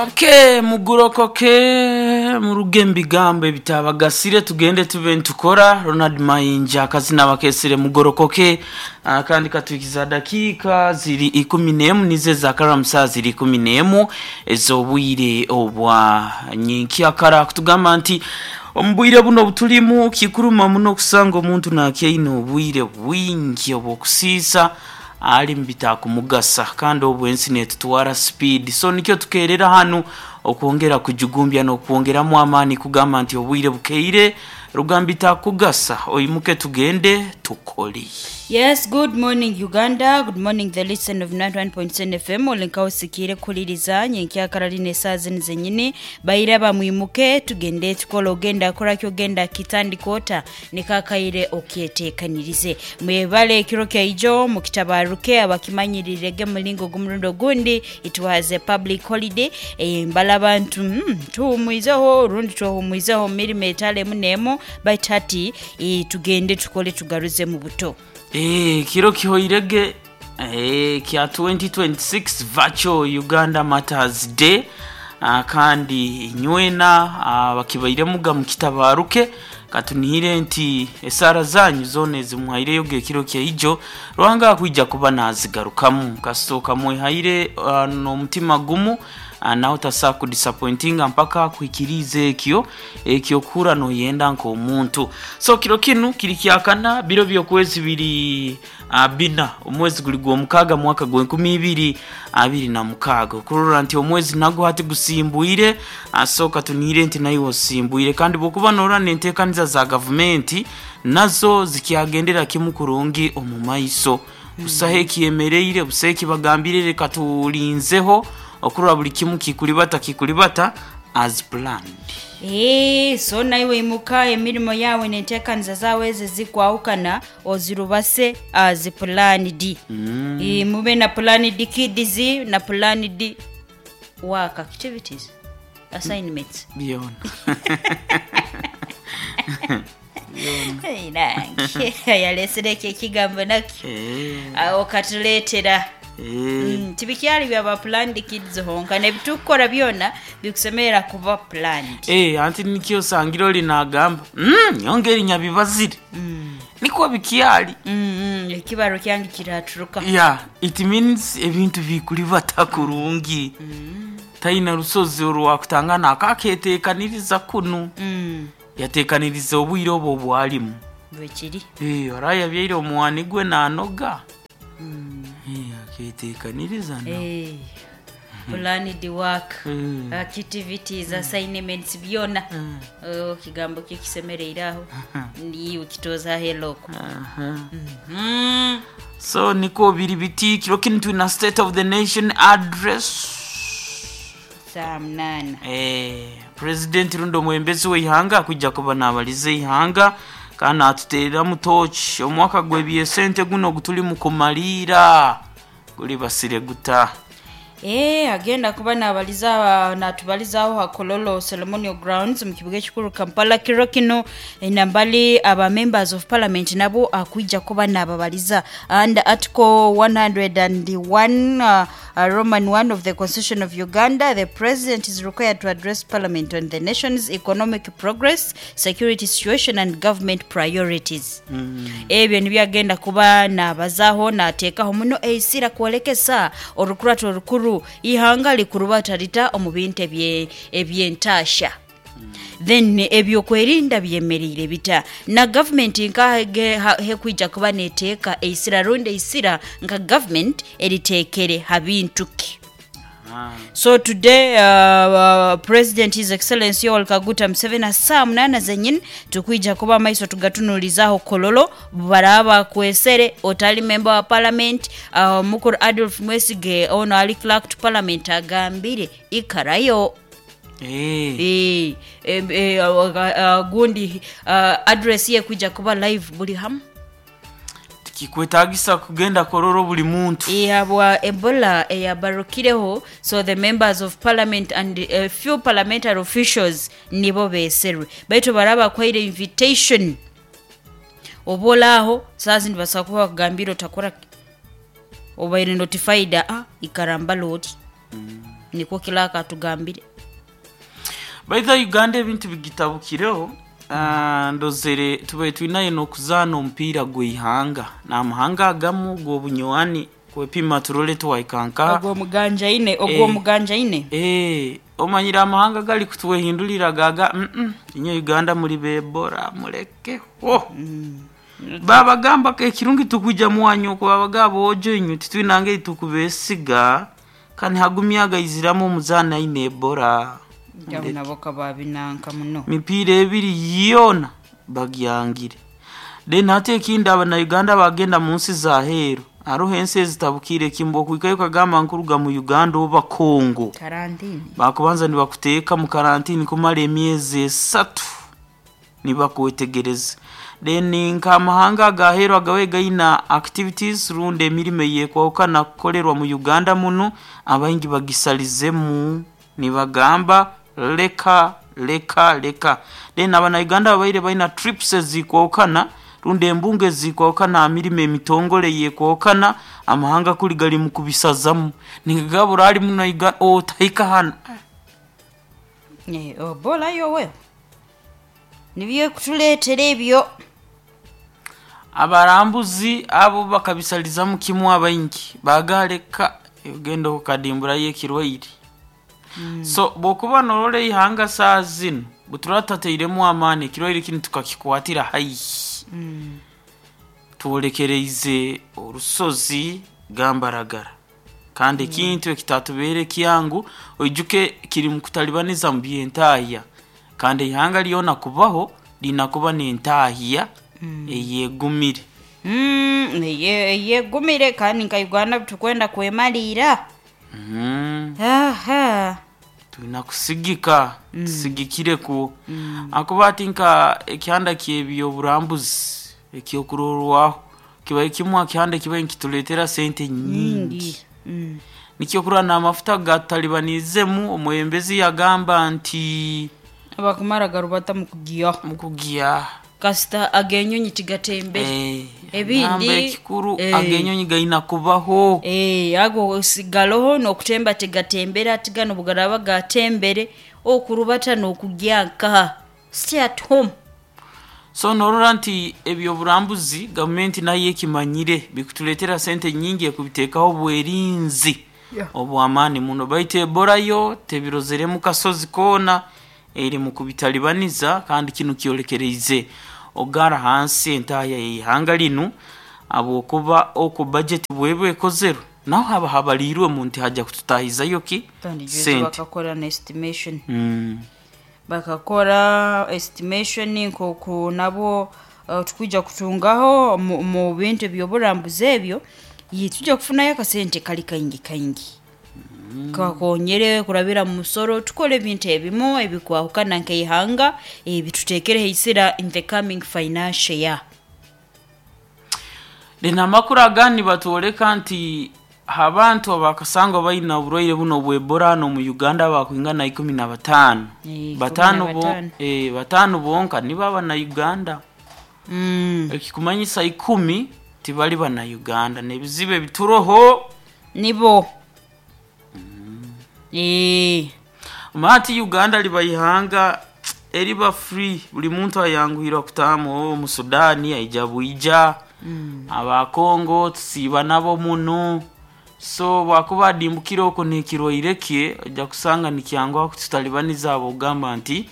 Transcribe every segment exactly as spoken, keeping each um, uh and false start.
Okay, mugurokoke muruge mubigambo ebitabagasire, tugende tube nitukora. Ronald Mayinja akazina bakesere mugorokoke. uh, kandi katuikiza dakiika ziri ikumi n'emu nizo ezakaramu saa ziri ikumi n'emu ez'obwire obwa nyenkyakara. Kutugamba nti omu bwire buno obutulimu kikuruma muno okusanga omuntu nakyaine obwire bwingi obw'okusiisa ali mubitakumugasa, kandi obu ensi netutwara speed. So nikyo tukerera hanu okwongera kujugumbya n'okwongeramu amaani kugamba nti obwire bukeire rugamba itakugasa, oyimuke tugende tukole. Yes, good morning, Uganda. Good morning, the listen of ninety-one point seven F M. Olinka usikire kuliriza nyenkyakara line saa zino zenyini. Baira bamwimuke tugende tukola, ogenda koraki, ogenda kitandikota nikakaire okyetekanirize. Mwebale ekiro kyaijo mukitabaruke abakimanyirirege mulingo gumurundo gundi. It was a public holiday. E, mbala abantu mm, tuhumwizeho rundi tuhumwizeho mirimo etalemu nemu, baitu hati e, tugende tukole tugaruze mu buto. Eh, kiro kihoirege eh, kya twenty twenty-six Virtual Uganda Matters Day. uh, kandi nywena uh, bakibaire mukitabaruke, katunihire nti esaara zanyu zona ezimuhaireyo ekiro kyaijo Ruhanga akwija kuba nazigarukamu kasooka mwehaire uh, n'omutima gumu, uh, nawe tasaa kudisappointinga mpaka kuhikiriza ekyo ekyokuhura noyenda nk'omuntu. So kiro kinu kiri kyakana, biro by'okwezi biri uh, bina, omwezi guli gw'omukaaga, mwaka gw'enkumi ibiri abiri na mukaaga, okurora nti omwezi nagwo hati gusimbwire. So katunihire nti naiwe osimbwire, kandi bwokuba norora n'enteekaniza za gavumenti nazo zikyagendera kimu kurungi omu maiso, busaho ekyemereire, busaho ekibagambire, reka tulinzeho okurora buli kimu kikulibata kikulibata as planned. Eh, so naiwe imuka, emirimo yawe nenteekaniza zawe ezi zikwahukana ozirubase as planned. mm. E, mube na planned kids na planned work activities, assignments. Byona. Hey, nange yalesereko ekigambo nakyo. Eh, awo katuleetera. eh. Mm, tibikyali byaba planned kids honka, nebitukukora byona bikusemerera kuba planned. Eh, anti nikyo osangire oli nagamba mm, nyonga erinya bibazire nikwo bikyali. Mm, mm, ekibaro kyange kiraturuka. Yeah, it means ebintu bikulibata kurungi, taina rusozi orwakutangana akaketekaniriza kunu. Mm, yatekaniriza obwire obwo obwalimu. Bwekiri. Eh, araye yabyaire omuwani gwe nanoga. Eh, aketekaniriza no. Eh, planned work, Mm. activities, assignments, byona. Oh, kigambo kikisemereire aho niwe kitoza heloko. Aha. mm. So niko biri biti kiro kinu twina State of the Nation Address. Saa munana. Eh, president rundi omwembezi w'eihanga akwijja kuba nabaliza eihanga kandi natuteereramu toki omwaka gw'ebyesente guno gutuli mu kumaliira guli basire guta. Eh, agenda kuba nabaliza natubalizaho ha Kololo Ceremonial Grounds mu kibuga ekikuru Kampala kiro kino. eh, nambali aba members of parliament nabo akwijja kuba nababaliza. And article one hundred one, uh, uh, Roman one of the Constitution of Uganda, the president is required to address parliament on the nation's economic progress, security situation and government priorities. mm. Ebyo nibyo agenda kuba nabazaho, nateekaho muno eisira kwolekesa orukurato orukuru ihanga likurubata rita omu bintu ebye- ebyentasha, then ebyokwerinda byemereire bita, na gavumenti nka hekwija kuba neteeka eisira rundi eisira nka gavumenti eriteekere ha bintu ki. So today, uh, uh, President His Excellency Yoweri Kaguta Museveni, saa munana zenyini tukwija kuba amaiso tugatunulizaho Kololo baraba kwesere otali member wa parliament. uh, mukuru Adolf Mwesige ono ali clerk to parliament agambire ikarayo. Eh, e, e, e, uh, uh, gundi uh, address ye kwija kuba live buli hamu. Tikikwetagisa kugenda Kololo buli muntu. Yabwa Ebola eyabarukireho, so the members of parliament and a few parliamentary officials nibo beserwe, baitu baraba kwaire invitation oba olaaho saa zindi basobola kuba bakugambire otakora obaire notified, ah, ikaramba loti. Nikwo Kilaka atugambire. Baitha Uganda ebintu bigitabukireho. Ah, ndozere tubaire twinayo n'okuzaana omupiira gw'eihanga n'amahanga agamu gw'obunywani kwepima turole twaikanka. Ogwo muganjaine, ogwo Eh. muganjaine. Eh, omanyire amahanga gali kutwehindulira gaga mm -mm, inye Uganda muri bebora mulekeho. Babagamba ko ekirungi tukuja mwanyu okubabaga bojo inywe titwinange itukubesiga kandi hagumyaga iziramu omuzaana aine Ebola. Abo nabo kababinanka muno. Mipiira ebiri yona bagyangire. Then hati ekindi, abanauganda bagenda mu nsi za heeru, hariho ensi ezitabukire kimbo okuhikayo kagamba nkuruga mu Uganda oba Congo, karantini. Bakubanza nibakuteeka mu karantini kumara emyezi esatu nibakwetegereza. Then nk'amahanga agaheeru agawe gaina activities rundi emirimo eyekwahukana kukorerwa mu Uganda muno, abaingi bagisalizemu nibagamba leka leka leka. Then abanauganda babaire baina trips ezikwahukana rundi embunga ezikwahukana aha mirimo emitongole yekwahukana, amahanga kuli gali mu kubisazamu nigagabura ali muno Uganda otahika hano. Eh, obola yowe nibyo kutuleetera ebyo. Abarambuzi abo bakabisalizamu kimu, abaingi bagaleka ogenda okukadimburayo ekirwaire. So bwokuba norora eihanga saa zino buturatateiremu amaani ekirwaire kinu tukakikwatira haihi, twolekereize orusozi gambaragara kandi ekintu ekitatubeere kyangu. Oijuke kiri mu kutalibaniza mu byentahya, kandi eihanga lyona kubaho lina kuba n'entahya eyegumire. Mm, eye- eyegumire kandi nka Uganda tukwenda kwemaliira. Mm. Aha. Tulina kusigika, tusigikireku akuba ati nka ekihanda kyebyoburambuzi ekyokurorwaho kibaye kimwe akihanda kibaye nikituleetera sente nyingi. Mm. Nikyo kurora n'amafuta gatalibanizemu, omwembezi yagamba nti Abakumara garubata mukugya. Mukugya. Kasita agenyonyi tigatembere. Eh, Ebindi- namba ekikuru eh. agenyonyi gaina kubaho. Eh, ago sigaloho n'okutemba tigatembera ati gano bugaraba gatembere okurubata n'okugya nkaha stay at home. So norora nti ebyoburambuzi gavumenti nayo ekimanyire bikutuleetera sente nyingi ekubiteekaho obwerinzi Yeah. obwamaani muno, baitu Ebola yo tebirozeremu kasozi koona, eri mu kubitalibaniza kandi kinu kyolekereize ogara hansi entahya yeihanga linu habwokuba oku budget bweba ekozerwe naho haba habaliirwemu nti hajja kututahizayo ki Kandi juzi sente. bakakora na estimation. Mm. Bakakora estimation nkoku nabo uh, tukwija kutungaho mu, mu bintu ebyoburambuzi ebyo ye tujja kufunayo akasente kali kaingi kaingi kakonyere kurabira mu musoro tukole ebintu ebimu ebikwahukana nk'eihanga ebituteekereho isira in the coming financial year. Lino amakuru agandi batwoleka nti abantu abakasangwa balina oburwaire buno obw'Ebola hano mu Uganda bakwingana ikumi na bataano. Eh, ikumi Bataano na bo- bataano. eh, bataano bonka nibo abanauganda. Mm. Ekikumanyisa ikumi tibali banauganda n'ebizibu ebituroho. Nibo. Eh, Maati Uganda liba ihanga eriba free, buli muntu ayanguhirwa kutaamu. Omu Sudaani aija bwija, abakongo tusiiba nabo muno, so bwakuba adimbukire okwo nekirwaire kye ojja kusanga nikyanguha kututalibaniza abo ogamba nti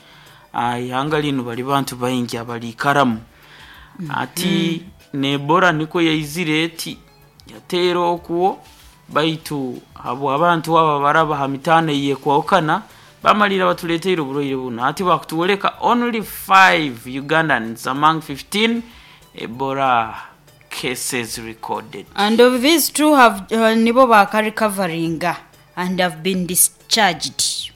ah, ihanga linu bali bantu baingi abaliikaramu. Ati nebora niko yaizire eti yateera okwo, baitu abo abantu aba baraba ha mitaano eyekwahukana bamalira batuleteire oburwaire buno. Ati bakutuoleka only five Ugandans among fifteen Ebola cases recorded. And of these two have uh, nibo bakarecoveringa and have been discharged.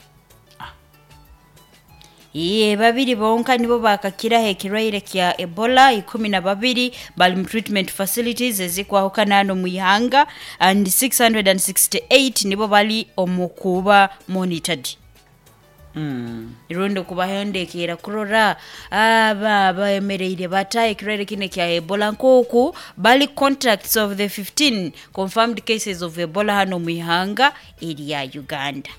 Iye babiri bonka nibo bakakiraho ekirwaire kya Ebola, ikumi na babiri bali mu treatment facilities ezikwahukana hano mu ihanga and six hundred sixty-eight nibo bali omu kuba monitored. Mm. Rundi kubahendekera kurora aba bemereire bata ekirwaire kino kya Ebola, nk'oku bali contacts of the fifteen confirmed cases of Ebola hano mu ihanga erya Uganda.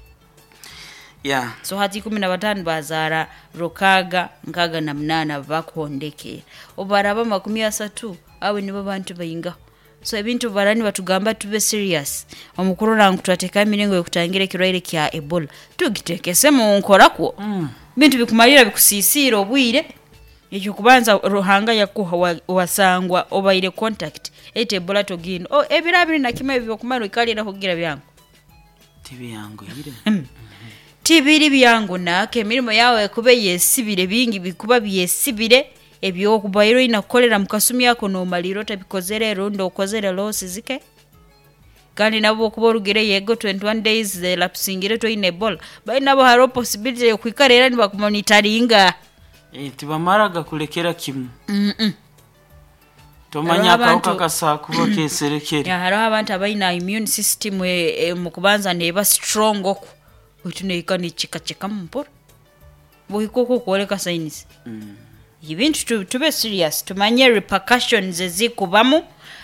Yeah. So hati ikumi na batano bazaara rukaga nkaga na munana bakuhondekera, obaraba makumi asatu abo nibo bantu baingaho. So ebintu barani batugamba tube serious omukurora ngu twateka emiringo yokutangira ekirwaire kya Ebola, tugitekese mu nkorakwo. Mm. Bintu bikumalira bikusisiira obwire. Ekyo kubanza Ruhanga yakuha wa- wasangwa obaire contact ete Ebola togino oh, ebiro abiri na kimwe ebyo kumara ikalira kugira byangu. Tibyanguhire. Tibiri byangu nake emirimo yawe ekube yesibire, bingi bikuba byesibire ebyokubaire oina kukolera mukasumi ako nomalira otabikozere, rundi okozere loss zike. Kandi nabo okuba orugire yego twenty-one days elapsingire toine Ebola, bali nabo hariho possibility yokwikara era nibakumonitaringa. Eh, tibamaraga kulekera kimu. Mm -mm. Tomanya Hariho akawuka abantu- kasaa kuba keserekere. Ya, hariho abantu abaina immune system e, e, mukubanza neba strong oku baitu neika nekikacekamu mpora buhika oku okwoleka signs. Mm. Ibintu tu- tube serious, tumanye repercussions ezikubamu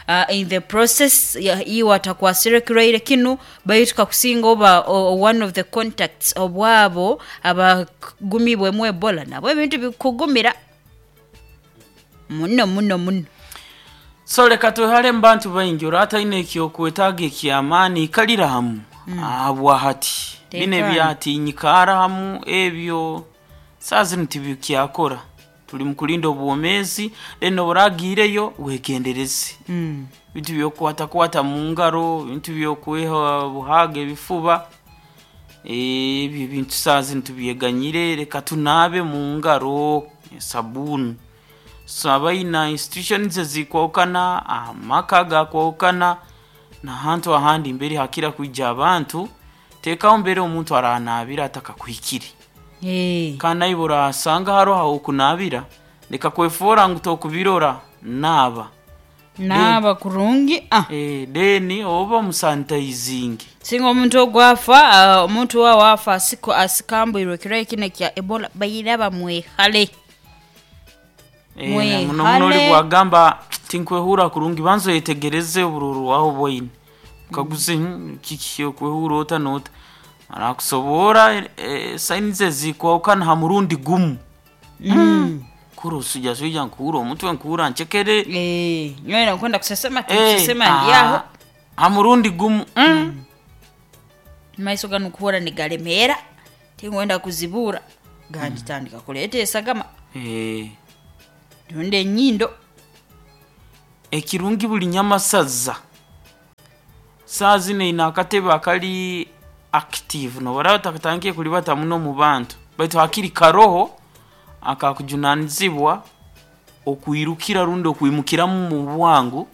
uh, in the process ya- iwe atakwasire kirwaire kinu, baitu kakusinga oba o, o- one of the contacts obwabo abagumibwemu Ebola, nabo ebintu bikugumira muno muno muno. So leka twehale mu bantu baingi, orataine ekyokwetaaga ekyamaani, ikalira hamu ahabwa hati bino Tekana. ebyatinyikaara hamu ebyo saa zinu tibikyakora. Tuli mu kulinda obwomeezi, then oburagiireyo wegendereze. Mm. Bintu byokukwatakwata mu ngaro, bintu byokweha buhaga ebifuba, ebyo bintu saa zinu tubyeganyire. Leka tunaabe mu ngaro esabuuni. So abaina institutions ezikwahukana, amaka gakwahukana, nahantu ahandi mbere hakira kwija abantu, teekaho mbere omuntu aranaabira atakakuhikire. Hey. Kandi naiwe orasanga haroho ahokunaabira, leka kwefoora ngu tokubirora, naaba. Naaba kurungi ah. Eh, then oba omusanitayizingi. Singa omuntu ogwafa uh, omuntu wawe afa asiko asikambwirwe ekirwaire kino kya Ebola, baira bamwehale. Eh, Mwehale. muno muno oli bwagamba tinkwehura kurungi, banza oyetegereze obururu aho bwaine, ukaguze, "Hmm, kiki okwehura ota nota?" Arakusobora eh, signs ezikwahukana ha murundi gumu. Mm. Kura osuja suja nkuura omutwe nkuura nchekere. Eh, nyowe nakwenda kusesema Eh, kusesema ndyaho. ah, ha murundi gumu mm. Maiso ganu kuhura nigalemera, tingwenda kuzibura ganditandika kuleta esagama Eh, rundi enyindo. Ekirungi buli nyamasaza saa zino ina akatebe akali active, nobaraba takatangiye kulibata muno mu bantu, baitu hakiri karoho akakujunanizibwa okwirukira rundi okwimukiramu mu bwangu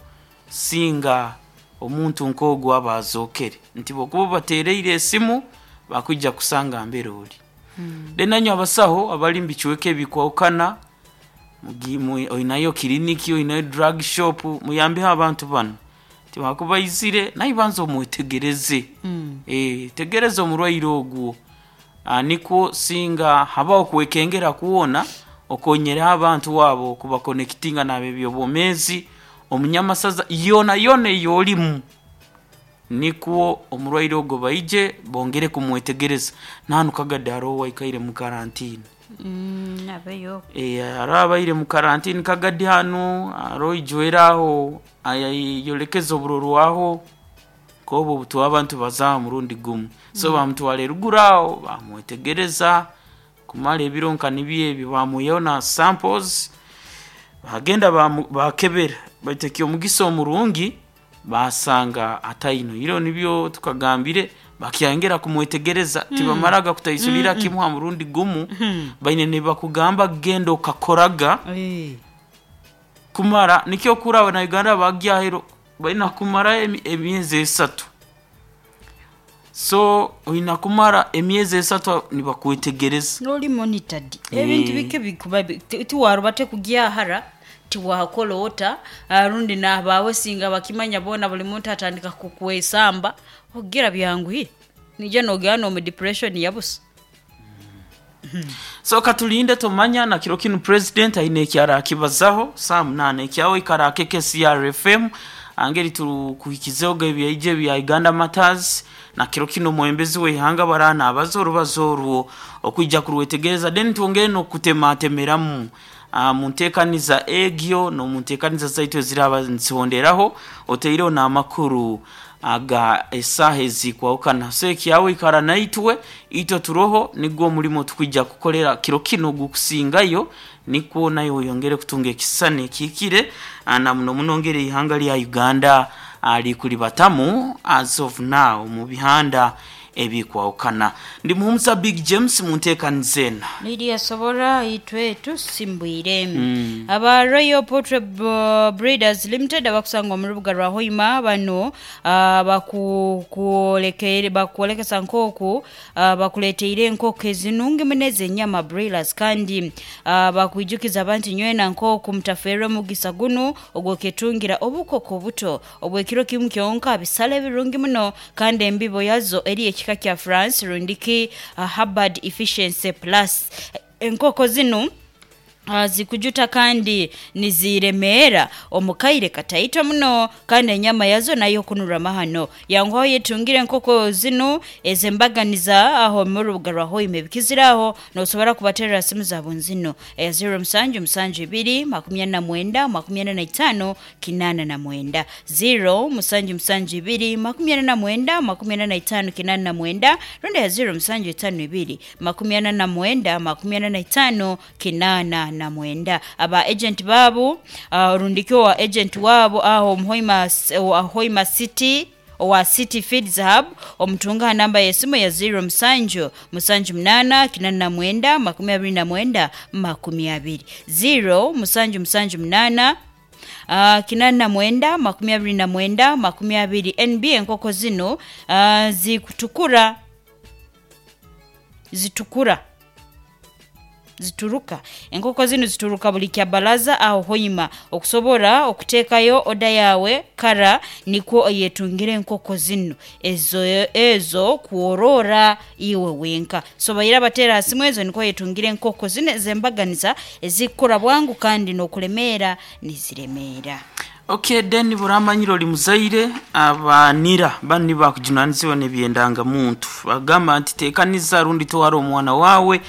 singa omuntu nk'ogwo aba azookere, nti bokuba bateereire esimu bakwija kusanga mbere ori. Then nanywe abasaho abali mu bicweka ebikwahukana, mugi- mu- oinayo kiriniki, oinayo drug shop, muyambeho abantu bano tibakubaizire, naye banza omwetegereze. Mm. Eh, tegereza omurwaire ogwo. Ah, nikwo singa habaho kwekengera kuwona, okonyereho abantu wabo kubakonekitinga nab'ebyobwomeezi omunyamasaza yona yona ey'olimu, nikwo omurwaire ogwo baije bongere kumwetegereza. Nahanu Kagadi hariho waikaire mu karantini. Mm, abeyo. Eh, hariho abaire mu karantini Kagadi hanu, hariho ijwera aho ayolekeza obururu aho kobo obutuwa abantu bazaha murundi gumu. So bamutwara eruguru aho bamwetegereza kumara ebiro nka nibyo ebyo, bamuihaho na samples, bagenda bamu- bakebera, baitu ekyomugisa omurungi basanga ataino iro nibyo tukagambire, bakyangera kumwetegereza. Tibamaraga kutaisulira kimu ha murundi gumu, baine nibakugamba genda okakoraga Eh. kumara nikyo kuraba na Uganda bagyahero baina kumara emi- emyezi esatu. So oina kumara emyezi esatu nibakwetegereza. Noli monitored. Eh. Ebintu bike bikuba bi- ti- tiwaruba tekugyahara, tiwakola ota ah, rundi nabawe singa bakimanya bona buli muntu atandika kukwesamba ogira byanguhire nija nogera nomu depression yabusa. So katulinde tomanya na kiro kinu president aine ekyara akibazaho saa munana ekyawe ikara akeke C R F M angeri tukuhikizeho ebyaije bya Uganda Matters. Na kiro kino omwembezi w'eihanga barana abaza orubazo orwo okwijja kurwetegereza, then twongere n'okutematemeramu uh, mu nteekaniza egyo n'omu nteekaniza zaitu eziraba nzihonderaho, oteireho n'amakuru aga esaaha ezikwahukana. So ekyawe ikara naitwe, itwe turoho nigwo omulimo tukwija kukolera kiro kino gukusingayo, nikwo nayo oyongere kutunga ekisisani ekihikire ah, na muno muno ngeri ihanga lya Uganda ah, likulibatamu as of now mu bihanda ebikwahukana. Ndi Muhumuza Big James mu nteekaniza ena. Lidia Sobora, itwe tusimbwire mm. Aba Royal Poultry B- Breeders Limited abakusanga omu rubuga rwa Hoima bano uh, bakukolekere bakukolekesa nkooku uh, bakuleteire enkoko ezinungi muno ez'enyama broilers, kandi uh, bakwijukiza abantu nywena nkooku mutaferwe omugisa guno ogwoketungira obukoko obuto obwekiro kimu kyonka, bisale ebirungi muno, kandi embibo yazo eri ekika kya France rundiki uh, Hubbard Efficiency Plus. Enkoko zinu uh, zikujuta kandi niziremeera omukaire kataito muno, kandi enyama yazo nayo kunura mahano. Yanguhaho yetungire enkoko zinu ezembaganiza aho mu rubuga rwa Hoima ebikiziraho. Nosobora kubaterera simu zabo nzino eya zero musanju musanju ibiri makumi ana na mwenda makumi ana na itaano kinaana na mwenda, zero musanju musanju ibiri makumi ana na mwenda makumi ana na itaano kinaana na mwenda, rundi ya zero musanju itaano ibiri makumi ana na mwenda makumi ana na itaano kinaana na mwenda. Aba agent babu uh, rundikyo wa agent wabo aho Muhoima, wa Hoima City owa City Feeds Hub, omutunga namba y'esimu ya zero musanju musanju munaana kinana na mwenda makumi abiri na mwenda makumi abiri, zero musanju musanju munaana Uh, kinana na mwenda makumi abiri na mwenda makumi abiri. N B enkoko zino uh, zikutukura zitukura zituruka, enkoko zino zituruka buli kyabalaza aho Hoima. Okusobora okuteekayo oda yawe kara nikwo oyetungire enkoko zino ezo ezo kuorora iwe wenka. So bayira batera simu ezo nikwo yetungire enkoko zino ezembaganiza ezikukura bwangu kandi n'okulemeera niziremeera. Okay, then buramanyire oli muzaire, abanira bani bakujunanizibwa n'ebyendangamuntu bagamba nti teekaniza rundi twara omwana wawe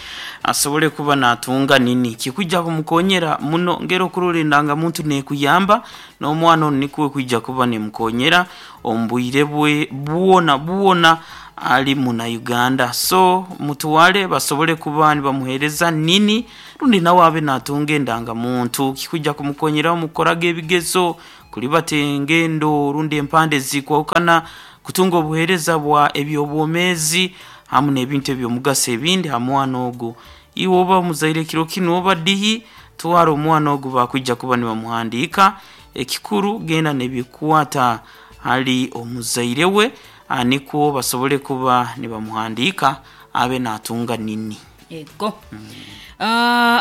asobole kuba natunga nini kikwijja kumukonyera muno. Ngero okurora endangamuntu nekuyamba n'omwana ono nikuwe kwijja kuba nemukonyera omu bwire bwe bwona bwona ali muna Uganda. So mutuwale basobole kuba nibamuhereza nini rundi nawe abe natunga endangamuntu kikujja kumukonyera mukoraga ebigezo, kulibata engendo rundi empande zikwahukana, kutunga obuhereza bwa ebyobwomezi hamu n'ebintu ebyomugaso ebindi ha mwana ogu. Iwe oba muzaire kiro kinu oba dihi, twara omwana ogu bakwijja kuba nibamuhandiika. Ekikuru genda nebikwata hali omuzaire we ah, nikwo basobole kuba nibamuhandiika abe natunga nini. Ego Uh,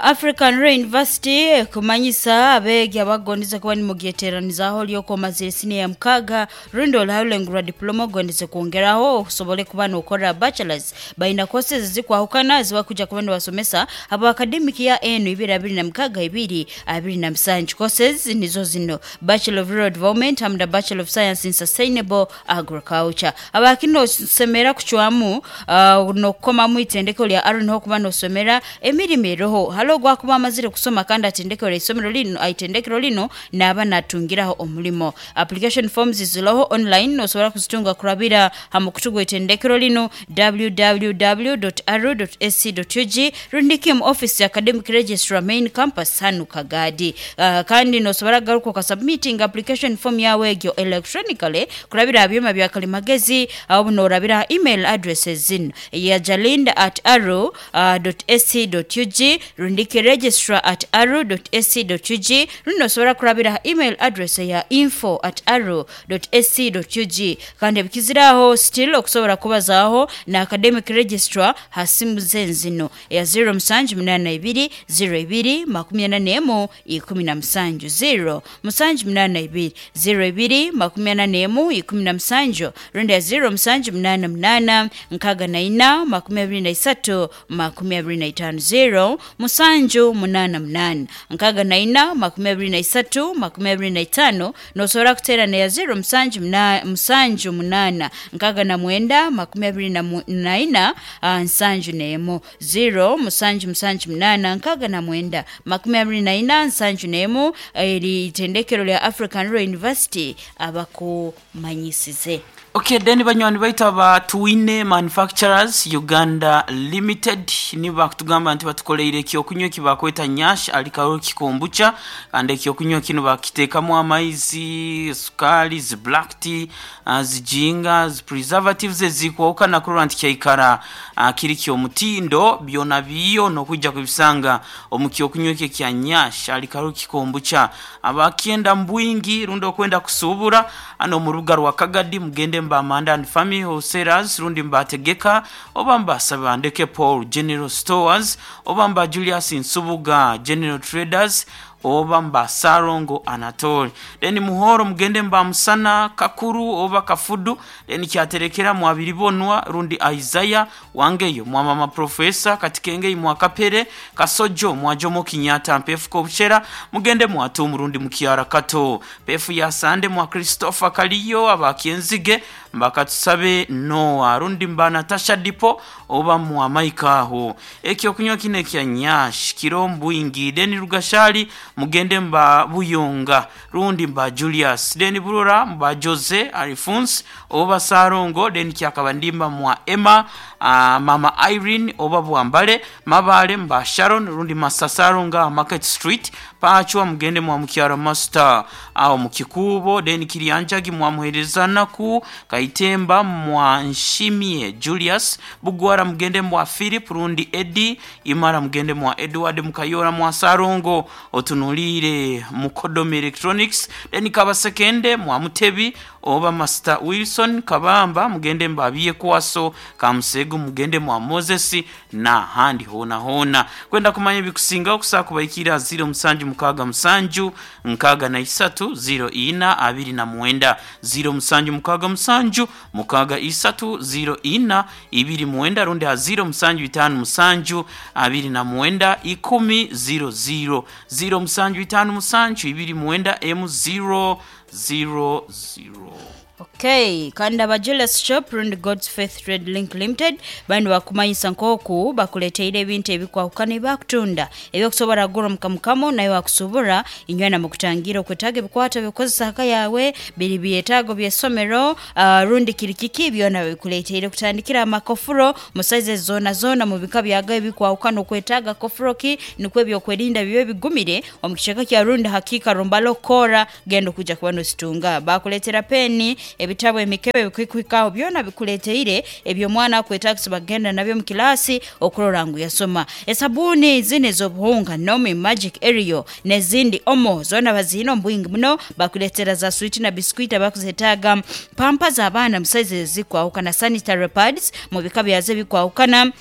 African Royal University ekumanyisa abeegi abagondeze kuba nimugyeteranizaho lyoko omazire siniya ya mukaga rundi olahalulengo rwa diploma ogondeze kwongeraho osobole kuba nokora bachelors, balina courses zikwahukana zibakuja kuba nibasomesa abo academic ya enu ibiri abiri na mukaga ibiri abiri na musanju. Courses nizo zino: Bachelor of Rural Development hamu na Bachelor of Science in Sustainable Agriculture. Abakino semera kucwamu uh, nokukomamu itendeko lya Aaron ho kuba nosomera emirimu eroho halo gwakuba amazire kusoma kandi atendekero isomero lino aitendekero lino naba natungiraho omulimo. Application forms ziloho online, nosobola kuzitunga kurabira ha mukutu gw'itendekero lino w w w dot r dot a c dot u g rundiki mu office ya academic registrar, main campus hanu Kagadi. uh, kandi nosobola garuka okasubmitting application form yawe egyo electronically kurabira ha byuma bya kalimagezi aho norabira email addresses zino ya jalinda at arrow uh, ac dot ug. U G rundiki registrar at aru dot A C dot U G, rundi osobola kurabira ha email address ya info at aru dot A C dot U G. Kandi ebikiziraho still okusobola kubazaaho na academic registrar ha simu zenzino ya zero musanju munana ibiri zero ibiri makumi ana nemu ikumi na musanju, zero musanju munana ibiri zero ibiri makumi ana nemu ikumi na musanju, rundi ya zero musanju munana munana nkaga na ina makumi abiri na isatu makumi abiri na itano, zero musanju munana munana nkaga na ina makumi abiri na isatu makumi abiri na itano. Nosobola kuterana ya zero musanju muna- musanju munana nkaga na mwenda makumi abiri na mu- na ina ah, nsanju nemu, zero musanju musanju munana nkaga na mwenda makumi abiri na ina nsanju nemu. Eri itendekero lya African Rural University abakumanyisize. Okay, then banywani baitu aba Twine Manufacturers Uganda Limited nibakutugamba nti batukoleire ekyokunywa ekibakweta Nyash Alkaroki Kombucha. Kandi ekyokunywa kino bakiteekamu amaizi, sukali, zi black tea, uh, zijinga, zi preservatives ezikwawukana kurora nti kyaikara uh, kiri kyomutindo. Byona biyo nokujja kubisanga omu kyokunywa ekyo kya Nyash Alkaroki Kombucha. Abakyenda mbwingi rundi okwenda kusuubura ano mu rubuga rwa Kagadi, mugende mba Amanda and Family Wholesalers, rundi mbategeka oba mbasaba Ndeke Paul General Stores, oba mba Julius Nsubuga General Traders, oba mba Sarongo Anatoli. Then Muhoro mugende mba Musana Kakuru oba Kafudu. Then Kyaterekera mwabiribonwa rundi Isaiah Wangeyo mwa mama profesa Katikenge mwa Kapere Kasojo mwa Jomo Kenyatta Mpefu Kobuchera, mugende mwatu rundi mukiara Kato Pefu ya Sande mwa Christopher Kaliyo. Abakyenzige mbakatusabe Noah rundi mba Natasha Dipo oba mwa Maikaho. Ekyo kunywa kine kya Nyash Kirombwingi. Then Rugashali mugende mba Buyonga rundi mba Julius. Then Burora mba Jose Alphonse oba Sarongo. Then Kyakaba ndimba mwa Emma, uh, mama Irene oba Bwambale. Mabale mba Sharon rundi Masasaronga Market Street. Pachwa mugende mwa Mukyara Master awo mukikubo. Then Kirianjagi mwa Muherezanaku Kaitemba mwa Nshimie Julius. Bugwara mugende mwa Philip rundi Eddie. Imara mugende mwa Edward. Mukayora mwa Sarongo otunulire Mukodomi Electronics. Then Kabasekende mwa Mutebi oba Master Wilson. Kabamba mugende mbabiye kwaso. Kamusegu mugende mwa Moses na handi hona hona. Kwenda kumanya ebikusinga okusaa kubaikira zero musanju mukaga musanju nkaga na isatu zero ina abiri na mwenda, zero musanju mukaga musanju mukaga isatu zero ina ibiri mwenda, rundi ha zero musanju itanu musanju abiri na mwenda ikumi zero zero, zero musanju itanu musanju ibiri mwenda m zero zero zero. Okay, kandi aba Julius Shop rundi God's Faith Trade Link Limited bandi bakumanyisa nkoku bakuleteire ebintu ebikwahukana ebakutunda ebyokusobora kugura mukamukamo naye wakusobora inywana mukutangira okwetaaga ebikwata byokukozesa haka yawe biri byetaago byesomero, uh, rundi kiri kiki byona bikuleteire, kutandikira amakofuro mu size zona zona mu bika byaga ebikwahukana. Okwetaaga kofuro ki nikwo ebyokwerinda bibe bigumire omu kiceka kya rundi hakika rumbalo kora genda okuja kuba nositunga. Bakuleetera peni, ebitabo, emikebe bikwikuhikaho byona bikuleteire ebyomwana akwetagisa bagenda nabyo mu kilasi okurora ngu yasoma. Esabuni zine ez'obuhunga, Nomi, Magic, Ariel nezindi Omo zona bazihina omu bwingi muno. Bakuleetera za switi na biskuit abakuzetaaga, pampa z'abaana mu size ezikwahukana, sanitary pads mu bika byazo ebikwahukana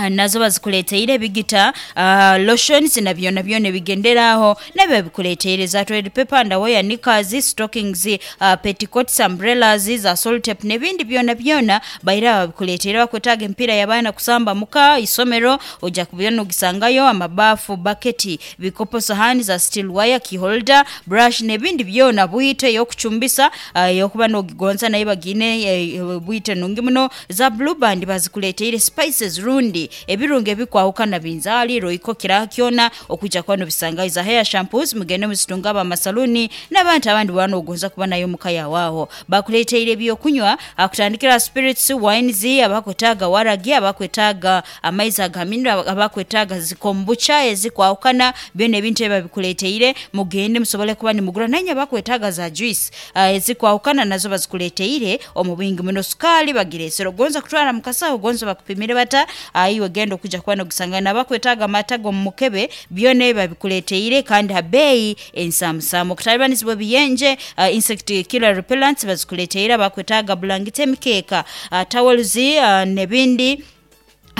nazo bazikuleteire, ebigita, uh, lotions na byona byona ebigenderaho nabyo bikuleteire, za toilet paper, underwear, knickers, stockings, uh, petticoats, umbrellas, za salt tape n'ebindi byona byona baira babikuleteire. Bakwetaaga empiira y'abaana kusamba muka isomero ojja kubyona ogisangayo, amabafu, baketi, bikopo, sahani za steel wire, key holder, brush n'ebindi byona, bwite ey'okucumbisa, uh, ey'okuba n'ogigonza naye bagine eh, bwite nungi muno, za Blue Band bazikuleteire, spices rundi ebirungo ebikwahukana, binzaali, Royco, kiraha kyona okwijja kuba nobisangayo. Za hair shampoos mugende muzitunga abamasaluni n'abantu abandi bwana ogonza kuba nayo muka yawaaho. Bakuleteire ebyokunywa akutandikira spirits, wines, abakwetaaga waragi, abakwetaaga amaizi agaminiro, abakwetaaga zikombucha ezikwahukana, byona ebintu ebyo babikuleteire. Mugende musobole kuba nimugura nanye. Abakwetaaga za juice uh, ezikwahukana nazo bazikuleteire omu bwingi muno. Sukaali bagireesera, ogonza kutwara mukasaho, ogonza bakupimire bata uh, Iwe genda okuja kuba nogusanga nabakwetaaga amata g'omu mukebe, byona ebi babikuleeteire kandi ha beeyi ensamusamu. Okutalibanizibwa ebiyenje, uh, insect killer repellents bazikuleeteire. Abakwetaaga bulangiti, emikeeka, uh, towels, uh, n'ebindi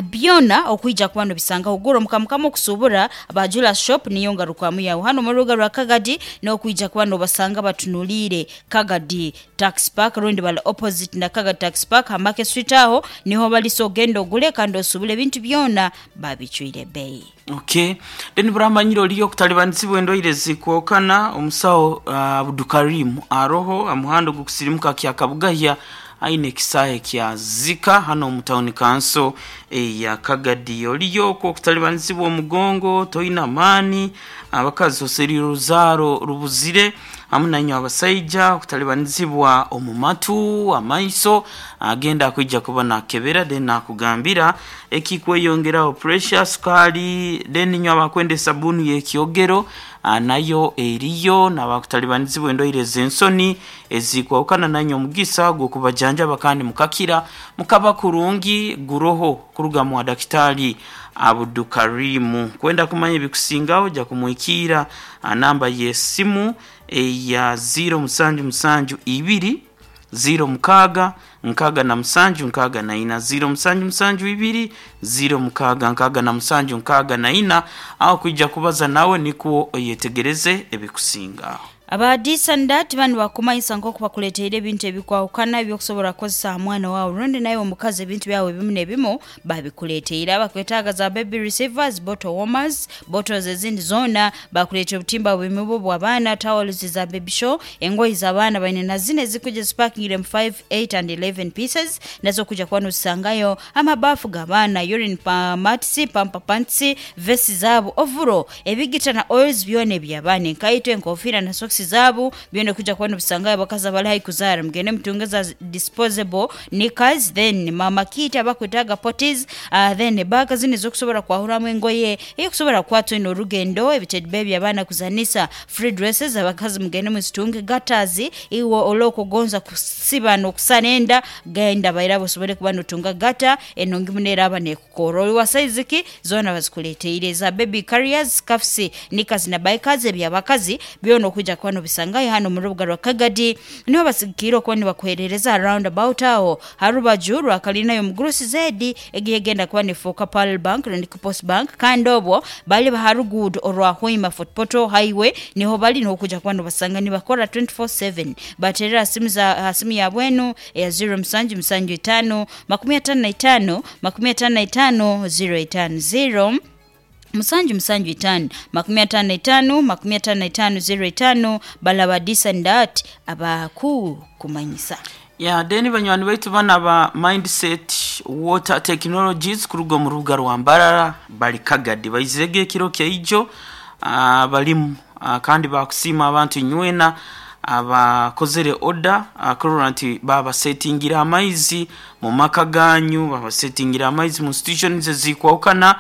byona okwija kuba nobisangaho. Gura omukamukama okusubura Bajula Shop, niyo ngarukwamu yawe hano mu rubuga rwa Kagadi, n'okwija kuba nobasanga batunuliire Kagadi Tax Park, rundi bali opposite na Kagadi Tax Park ha Market Street, aho niho bali. So ogenda ogule kandi osubule ebintu byona babicwire beeyi. Okay, then buramanyire oliyo okutalibanizibwa endwaire zikwokana, omusawo uh, Abdukarimu aroho amuhando gukusirimuka kya Kabugahya, aine ekisahe kya Zika hano omu town council eya Kagadi. Oliyo okwo okutalibanizibwa omugongo, toina maani, abakazi oserire oruzaaro rubuzire, hamu nanywe abasaija okutalibanizibwa omu matu, amaiso, agenda akwija kuba nakebera then nakugambira ekikweyongeraho pressure, sukali. Then nywe abakwenda esabuni y'ekyogero, ah, nayo eriyo. Nabakutalibanizibwa endwaire ez'ensoni ezikwahukana, nanywe omugisa gw'okubajanjaba kandi mukakira mukaba kurungi guroho kuruga mu Dakitali Abdukarimu. Kwenda kumanya ebikusingaho, ja kumwikiira namba y'esimu eya ziro musanju musanju ibiri ziro mukaaga nkaaga na musanju nkaaga na ina, ziro musanju musanju ibiri ziro mukaaga nkaaga na musanju nkaaga na ina, aho kwija kubaza nawe nikwo oyetegereze ebikusingaho. Abadisandat banu bakumanyisa nk'oku bakuleteire ebintu ebikwahukana ebyokusobola kukozesa aha mwana wawe rundi naye omukazi. Ebintu byawe ebimu n'ebimu babikuleteire. Abakwetaaga za baby receivers, bottle warmers, bottles ezindi zoona bakuleetera, obutimba bw'emibu bw'abaana, towels za baby show, engoyi z'abaana baine na zino ezikuja zipakingire mu five, eight and eleven pieces, nazo kuja kuba nozisangayo. Amabafu g'abaana, urine pa mats, pamper pants, vesti zaabo, overall ebigita na oils byona eby'abaana, enkaito, enkofiira na socks zaabo byona kuja kuba nobisangayo. Abakazi abali haihi kuzaara, mugende mutunge za disposable knickers. Then mama kit, abakwetaaga potties, uh, then baga zino ezokusobola kwahuramu engoye eyokusobola kukwata ino orugendo, ebitedbe by'abaana kuzanisa, free dresses, abakazi mugende muzitunge. Gaiters, iwe olwokugonza kusiba n'okusana enda, genda bairabo osobole kuba notunga gaiter enungi muno eraba nekukora oli wa size ki, zoona bazikuleteire. Za baby carriers, scarfs, knickers na bikers ebyabakazi byona okuja kuba nobisangayo hano mu rubuga rwa Kagadi. Niho basigikire okuba nibakuherereza roundabout aho harubaju rwa kalina y'omugurusi zedi egiyegenda kuba nefuuka Pearl Bank rundi Post Bank, kandi obwo bali baharuguudo orwa Hoima Fort Portal Highway, niho bali, niho kuja kuba nobasanga nibakora twenty-four seven. Baterera simu za simu ya bwenu eya zero musanju musanju itano makumi atano na itano makumi atano na itano zero itano, zero musanju musanju itano makumi atano na itano makumi atano na itano zero itano. Balaba disandat abaku kumanyisa. Ya, then banywani baitu bana ba Mindset Water Technologies kuruga mu rubuga rwa Mbarara bali Kagadi, baizege ekiro kyaijo, uh, balimu, uh, kandi bakusiima abantu nywena abakozere order, akurora nti babasetingira amaizi mu maka ganyu, babasetingira amaizi mu institutions ezikwahukana,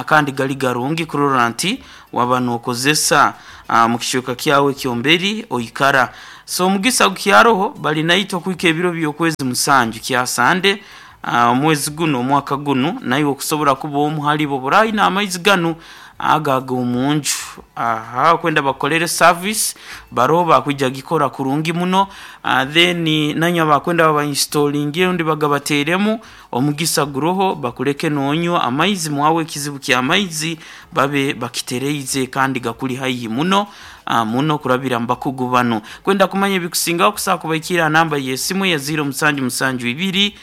kandi gali garungi kurora nti waba nokozesa uh, mu kishuka kyawe kyomberi oikara. So omugisa gukyaroho, bali naitwe kuhika ebiro by'okwezi musanju kya Sande, omwezi guno, omwaka guno, naiwe okusobola kuba omu halibo burayi n'amaizi ganu agaga omunju. Aha kwenda bakolere service baroho bakwija gikora kurungi muno. uh, then nanywa bakwenda babainstallinge undi bagabateremu, omugisa guroho bakuleke nonywa amaizi mwawe, ekizibu ky'amaizi babe bakitereize kandi gakuli haihi muno, uh, muno kurabira mu bakugu bano. Kwenda kumanya ebikusingaho, kusaa kubaikira namba y'esimu ya zero musanju musanju ibiri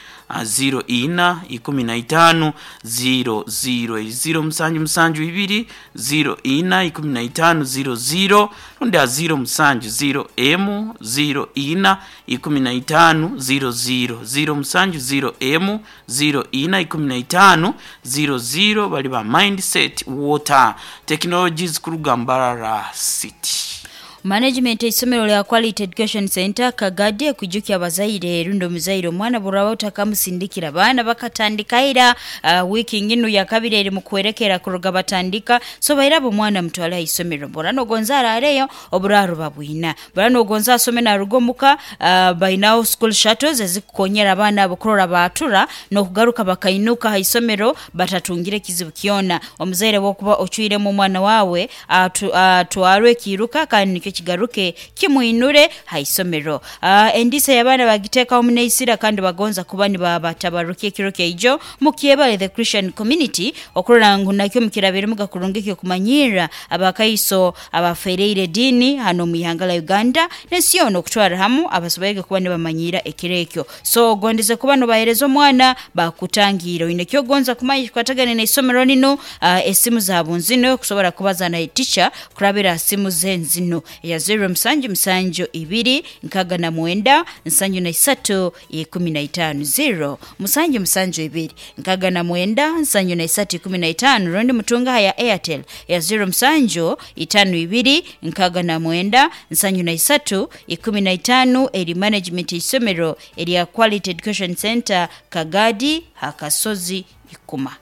zero ina ikumi na itano zero zero, zero musanju musanju ibiri zero ina ikumi na itano zero zero, rundi a zero musanju zero emu zero ina ikumi na itano zero zero, zero musanju zero emu zero ina ikumi na itano zero zero. Bali ba Mindset Water Technologies kuruga Mbarara City. Management eisomero lya Quality Education Center Kagadi ekwijukya abazaire rundi omuzaire omwana buraba utakamusindikira baana bakatandika ira uh, wiki nginu ya kabiri eri mukwerekera kuruga batandika. So bairabo omwana mutwale aisomero bora nogonza arareyo oburaro babwina bora nogonza asome naruga omuka uh, bainaho school shuttles ezikukonyera abaana abo kurora batura nokugaruka bakainuka haisomero batatungire kizibu kyona. Omuzaire wokuba ocwiremu omwana wawe atwarwe uh, kiruka kandi nikyo kigaruke kimuinure haisomero. Uh, endisa y'abaana bagiteekaho omuneisira kandi bagonza kuba nibabatabarukia ekiro kyaijo mukyebale the Christian community okurora ngu nakyo mukirabirimu gakurungi kyokumanyira abakaiso abafereire dini hano mu ihanga la Uganda n'ensi yoona okutwara hamu abasoboire kuba nibamanyira ekiro ekyo. So ogondeze kuba nobahereza omwana bakutangira oine kyogonza kumanya kikwatagane n'eisomero lino uh, esimu zaabo nzino kusobora kubaza na teacher kurabira simu ze nzino ya zero musanju musanju ibiri nkaga na mwenda nsanju na isatu ikumi na itano zero musanju musanju ibiri nkaga na mwenda nsanju na isatu ikumi na itano rundi mutunga ya Airtel ya zero musanju itano ibiri nkaga na mwenda nsanju na isatu ikumi na itano eri management isomero erya Quality Education Center Kagadi Hakasozi Ikuma.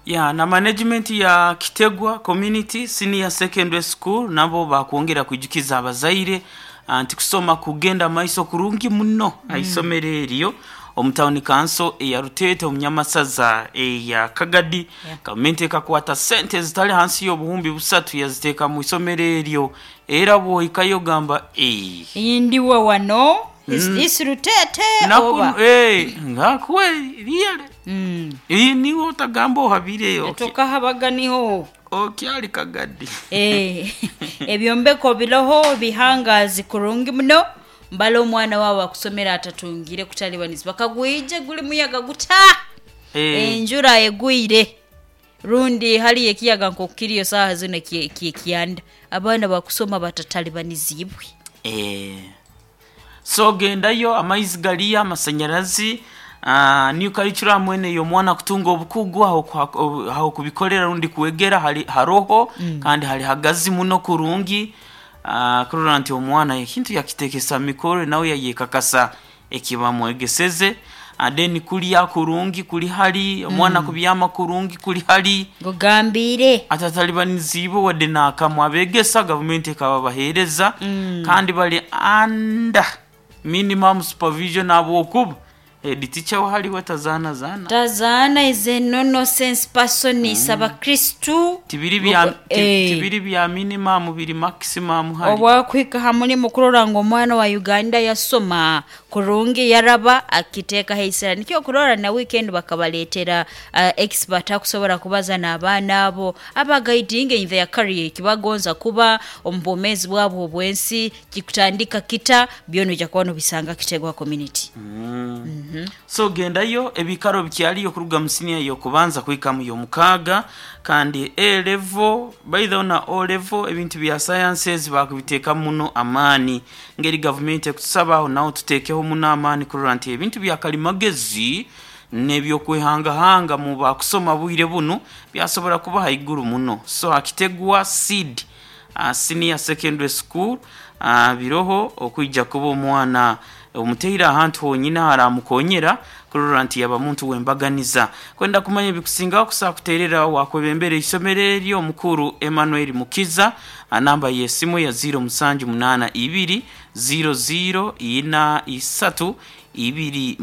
Ya na management ya Kitegwa Community Senior Secondary School nabo bakwongera kwijukiza abazaire nti kusoma kugenda maiso kurungi muno mm. aisomero eryo omu town council eya Rutete omunyamasaza eya Kagadi. Yeah. Gavumenti ekakwata sente zitali hansi y'obuhumbi busatu yaziteeka mu isomero eryo era bwohikayo gamba eh ndiwe wano mm. Is Rutete oba eh ngakwe really mm. Iyi niwo utagamba ohabire tokahabaga niho okyali Kagadi. Eh ebyombeko biroho bihangazi kurungi muno mbala omwana wawe akusomera atatungire kutalibaniza bakagwije guli muyaga guta eh. Enjura egwire rundi hali ekiyaga nkokiriyo saha zino kianda abaana bakusoma batatalibanizibwe. Eh so gendayo amaizi galiya amasanyarazi Uh, new curriculum wene yo mwana kutunga obukugu aho aho kubikolera rundi kuwegera hali haroho mm. kandi hali hagazi muno kurungi uh, kurora nti omwana ekintu yakitekesa mikoro nawe yayekakasa ekibamwegeseze adeni kulya kurungi kuli hali omwana mm. kubyama kurungi kuli hali gugambire atatalibanizibo wadde nakamwe abegesa gavumenti ekababahereza mm. kandi bali under minimum supervision abokuba head teacher wahali tazana zana tazana is a no nonsense person mm. Saba Kristu tibiri bya eh. Tibiri bya minimum biri maximum hali obwakwika hamuli mukurora ngo omwana wa Uganda yasoma kurungi yaraba akiteka heisera nikyo kurora na weekend bakabaletera uh, expert akusobora kubaza n'abaana abo abagaidinge in their career kibagonza kuba ombomezi bwabo obwensi kikutandika kita byono jakuba no bisanga Kitegwa community mm. Mm -hmm. So gendayo ebikaro bikyaliyo kuruga mu senior yo kubanza kuhika mu yomukaga kandi A level by the na O level ebintu bya sciences bakubiteeka muno amani ngeri government ekutusabaho nawo tuteekeho muno amani kurora nti ebintu bya kalimagezi n'ebyokwehangahanga mu bakusoma bwire buno byasobora kuba haiguru muno. So Akitegwa seed uh, senior secondary school uh, biroho okwijja kuba omwana omuteira ahantu honyina haramukonyera kurora nti yaba muntu wembaganiza kwenda kumanya ebikusingaho kusa kuterera wakwebembera isomero eryo omukuru Emmanuel Mukiza anamba y'esimu ya zero musanju munana ibiri zero zero ina isatu ibiri.